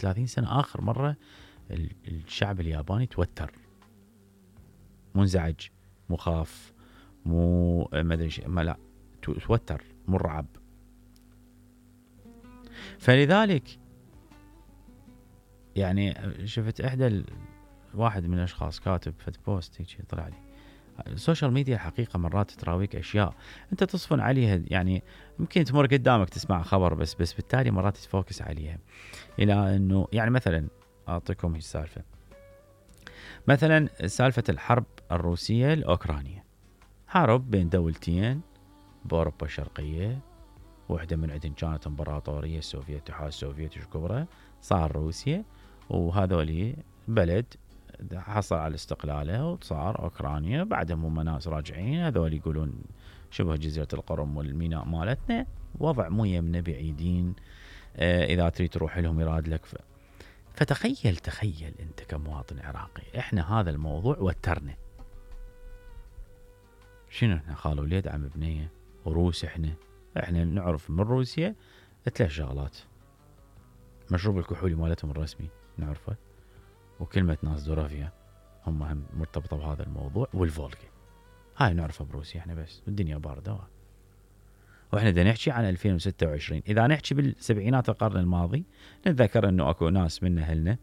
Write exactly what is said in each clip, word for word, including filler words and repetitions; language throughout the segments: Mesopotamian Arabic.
ثلاثين سنة آخر مرة الشعب الياباني توتر، منزعج، مخاف، مو ما ادري ما لا توتر، مرعب. فلذلك يعني شفت احدى ال... واحد من الاشخاص كاتب فد بوست هيك طلع لي، السوشيال ميديا الحقيقه مرات تراويك اشياء انت تصفن عليها، يعني ممكن تمر قدامك تسمع خبر بس بس بالتالي مرات تفوكس عليها، الى انه يعني مثلا اعطيكم هي السالفه، مثلا سالفه الحرب الروسيه الاوكرانيه، حرب بين دولتين باوروبا الشرقيه، واحده من عندهم كانت امبراطوريه السوفيت، الاتحاد السوفيتي الكبرى، صار روسيا، وهذولي بلد حصل على استقلاله وصار اوكرانيا، بعدهم هم ناس راجعين هذول يقولون شبه جزيره القرم والميناء مالتنا، وضع مو يمنا بعيدين، آه اذا تريد تروح لهم يراد لك. ف... فتخيل تخيل انت كمواطن عراقي، احنا هذا الموضوع وترنا، شنو احنا خال وليد عم بنيه وروس، احنا احنا نعرف من روسيا ثلاث شغلات، مشروب الكحولي مالتهم الرسمي نعرفه، وكلمة ناس دورافيا هم هم مرتبطة بهذا الموضوع، والفولغا هاي نعرفها بروسيا احنا بس، والدنيا باردة. واحنا بدنا نحكي عن ألفين وستة وعشرين، اذا نحكي بالسبعينات القرن الماضي نتذكر انه اكو ناس من اهلنا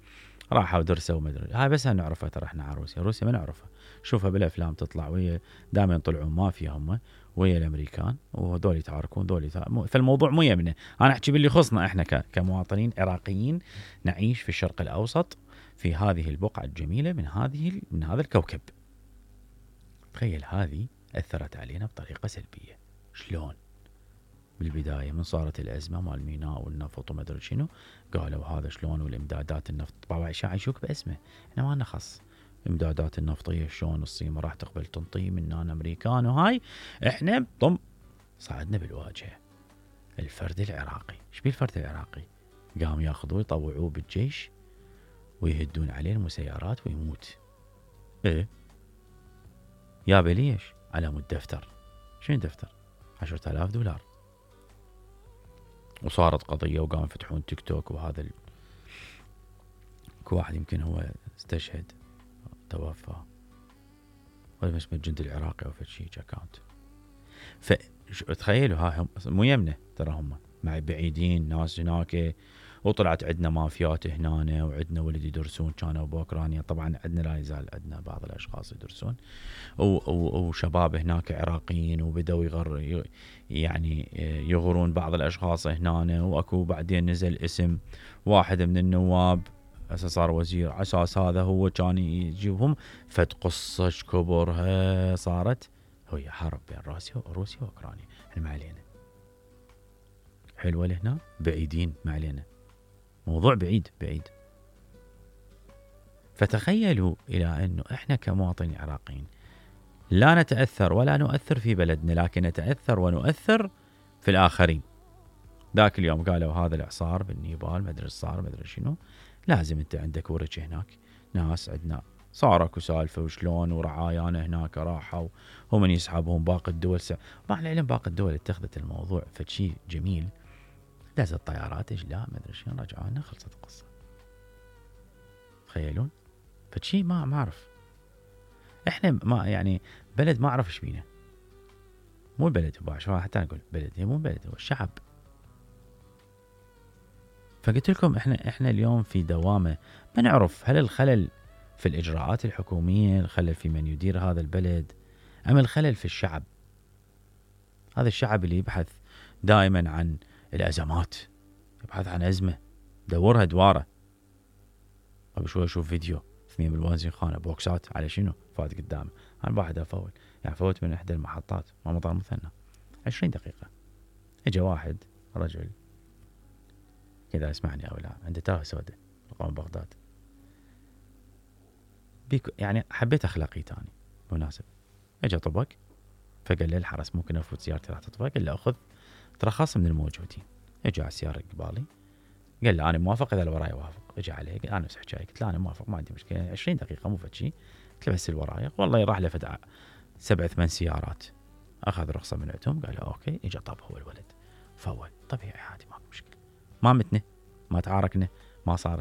راحوا ودرسوا ومدري، هاي بس نعرفها ترى احنا على روسيا، روسيا ما نعرفها، شوفها بالافلام تطلع ويا دائما يطلعوا مافيا هم ويا الامريكان، وهذول يتعاركون ذول يتعاركون، فالموضوع مو يمنا، انا احكي باللي يخصنا احنا كمواطنين عراقيين نعيش في الشرق الاوسط في هذه البقعة الجميلة من هذه من هذا الكوكب. تخيل هذه أثرت علينا بطريقة سلبية، شلون؟ بالبداية من صارت الأزمة مال الميناء والنفط وما أدري شنو، قالوا هذا شلون، والإمدادات النفط طبعا يعيشوك باسمه، إحنا ما نخص إمدادات النفطية شلون، الصين ما راح تقبل تنطي مننا أمريكان، وهاي إحنا طم صعدنا بالواجهة. الفرد العراقي، إيش بيه الفرد العراقي؟ قام ياخذوه يطوعوه بالجيش ويهدون عليه المسيرات ويموت. ايه يا بليش على مود دفتر، شنو دفتر؟ عشرة آلاف دولار. وصارت قضية وقام يفتحون تيك توك، وهذا ال... كو واحد يمكن هو استشهد توفى، ولا اسمه الجندي العراقي او فشي اكاونت. فتخيلوا ها هم مو يمنا ترى، هم مع بعيدين ناس هناك، وطلعت عندنا مافيات هنا، وعندنا ولد يدرسون كانوا باوكرانيا، طبعا عندنا لا يزال عندنا بعض الاشخاص يدرسون، وشباب هناك عراقيين، وبدأوا يغر يعني يغرون بعض الاشخاص هنا، واكو بعدين نزل اسم واحد من النواب اساس صار وزير على اساس هذا هو كان يجيبهم، فد قصه كبرها صارت، هي حرب بين روسيا وروسيا واوكرانيا، احنا ما علينا، حلوه لهنا بعيدين ما علينا، موضوع بعيد بعيد. فتخيلوا الى انه احنا كمواطنين عراقيين لا نتاثر ولا نؤثر في بلدنا، لكن نتاثر ونؤثر في الاخرين. ذاك اليوم قالوا هذا الاعصار بالنيبال ما ادري صار ما ادري شنو، لازم انت عندك ورش هناك، ناس عندنا صار اكو سالفه وشلون، ورعايانا هناك راحوا ومن يسحبهم باقي الدول، مع العلم باقي الدول اتخذت الموضوع فشي جميل، دازت الطيارات ايش لا ما ادري شنو، رجعونا خلصت القصه. تخيلون فشي ما ما اعرف، احنا ما يعني بلد ما اعرف ايش بينا، مو البلد هو حتى نقول بلد، هي مو بلد هو الشعب. فقلت لكم احنا احنا اليوم في دوامه ما نعرف هل الخلل في الاجراءات الحكوميه، الخلل في من يدير هذا البلد، ام الخلل في الشعب. هذا الشعب اللي يبحث دائما عن الازمات، يبحث عن ازمه دورها دواره. قبل شوي اشوف فيديو اثنين بالوازن خانه بوكسات على شنو فات قدامه، انا واحد افول يعني فوت من احدى المحطات ما مطار مثنى عشرين دقيقه، اجى واحد رجل كذا اسمعني او لا عنده تاه سوداء قام بغداد، بيك يعني حبيت اخلاقي تاني مناسب، اجى طبق فقال لي الحرس ممكن افوت سيارتي راح تطفى، قال له اخذ ترخص من الموجودين، اجى على السياره قبالي قال له انا موافق اذا اللي وراي وافق، اجى عليه قال انا نفس حكايه، قلت له انا موافق ما عندي مشكله، عشرين دقيقه مو فد شيء، قلت له بس اللي وراي، والله يراح له فد سبع ثمان سيارات، اخذ رخصه من عندهم، قال له اوكي، اجى طب هو الولد فول طبيعي عادي ماكو مشكله، ما متنا ما تعاركنا ما صار